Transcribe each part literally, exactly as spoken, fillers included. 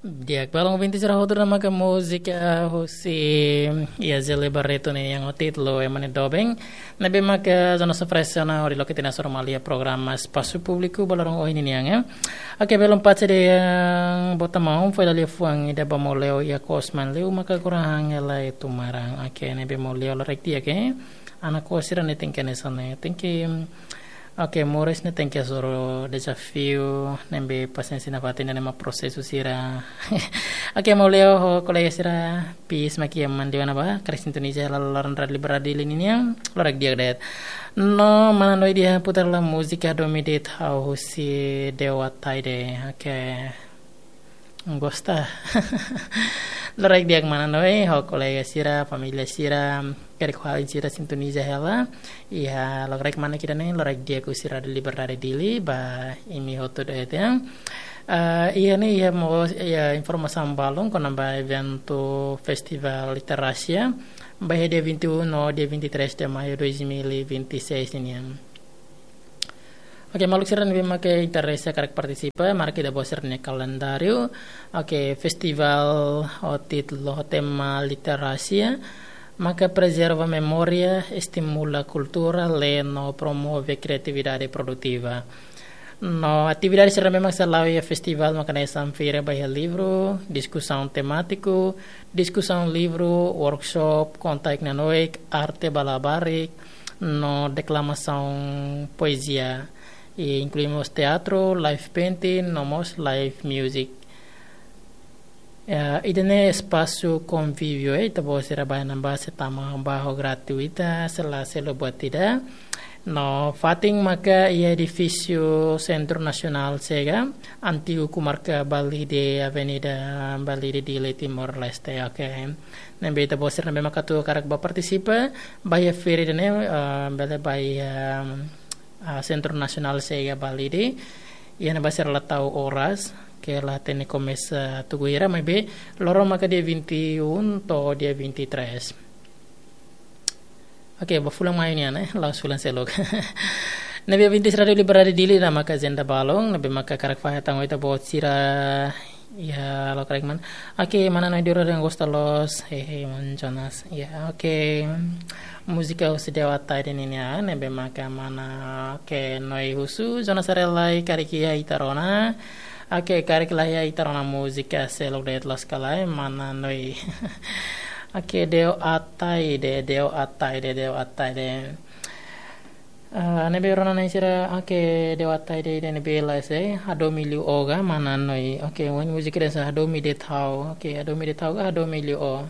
Di'ak, balun ouvinte sira hotu, ne'e maka múzika husi iha Zélio Barreto nian ho títulu Ema nia Doben. Ne'ebé maka zona sofresiona hodi loke tiha ona sira maluk iha programa Espasu Públiku ba loron ohin nian, eh. Oke, belun parte de, eh, bota maun, foin dala ida fuan ida ba Maun Leo iha kosman liu maka kurang hela itu marang. Oke, ne'ebé Maun Leo lorek di'ak, eh. Anak kos sira ne'e tenke hanesan ne'e, tenke, oke, moris ne'e tenke hasoru dezafiu, ne'ebé pasiénsia nafatin ne'e mak prosesu sira. Oke, Maun Leo ho kolega sira, pis maki aman di mana ba, karik sintoniza hela loron Rádiu Liberdade Dili nian, lorek di'ak de'it. No, mana Noi nia putar lai múzika Hadomi De'it Ha'u husi Deo Ataide. Oke. Gosta. Lorek di'ak mana Noi, ho kolega sira, família sira, karik ho alin sira sintoniza hela. Iha lokraik manek ida-ne'e, lorek di'ak husi Rádiu Liberdade Dili, ba imi hotu de'it, ya. Eh, iha ne'e, iha mós, iha informasaun balun kona-ba eventu Festival Literasia, ba iha dia vinte e um no dia vinte e três de maio dois mil e vinte e seis nian. Oke, maluk sira ne'ebé maka interese karik partisipa, marka ita-boot sira-nia kalendáriu. Oke, festival ho títulu, ho tema Literasia, maka prezerva memória, estimula kultura, lee no promove kriatividade produtiva. No atividade sira ne'ebé maka sei la'o iha festival maka hanesan feira ba iha livru, diskusaun temátiku, diskusaun livru, workshop, konta-nanoik, arte ba labarik, no deklamasaun poezia. I inklui mós teatru, live painting, no mós live music. Ya, ida-ne'e espasu konvíviu, eh, ita-boot sira baibain ne'ebá sei tama ba ho gratuita, sei la selu buat ida. No fatin maka iha edifísiu Sentru Nasionál Chega, antigu komarka Balide, Avenida Balide, Dili, Timor-Leste, oke. Ne'ebé ita-boot sira ne'ebé maka atu karik ba partisipa, ba iha feira ida-ne'e, eh, bele ba iha, eh, Sentru Nasionál Chega Balide. Iha ne'ebá sira la tau oras, ke la hatene komesa tuku hira, maibé loron maka dia vinte e um to'o dia vinte e três. Oke, ba fulan Maiu nian, eh, la'ós fulan seluk. Ne'ebé ouvinte Rádiu Liberdade Dili, ne'e maka ajenda balun, ne'ebé maka karik fahe tan ho ita-boot sira, ya, lokraik mana. Oke, mana Noi Dura dengan Gusta Los, hehe, Mon Jonas. Ya, oke. Múzika husi Deo Ataide nian, ne'ebé maka mana, oke, Noi husu, Jonas Arelai, karik iha ita rona. Oke, karik la iha ita rona múzika seluk de'it loos ka lae, mana Noi. Oke, Deo Ataide, Deo Ataide, Deo Ataide. Ah, ne'ebé rona-na'in sira, oke, Deo Ataide ida-ne'ebé la sei, Hadomi Liu Ó ka, mana Noi. Oke, ohin múzika hanesan Hadomi De'it Ha'u. Oke, Hadomi De'it Ha'u ka, Hadomi Liu Ó.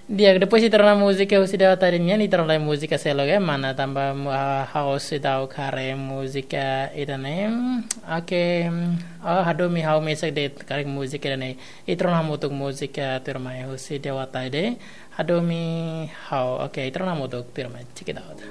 Di'ak, depois ita rona múzika husi Deo Ataide nian, ita rona múzika seluk, eh, mana tanba, ah, ha'u seidauk haree múzika ida-ne'e. Oke, oh, Hadomi Ha'u mesak de'it karik múzika ida-ne'e. Ita rona hamutuk múzika tuirmai husi Deo Ataide. Hadomi Ha'u. Oke, ita rona hamutuk tuirmai. Check it out.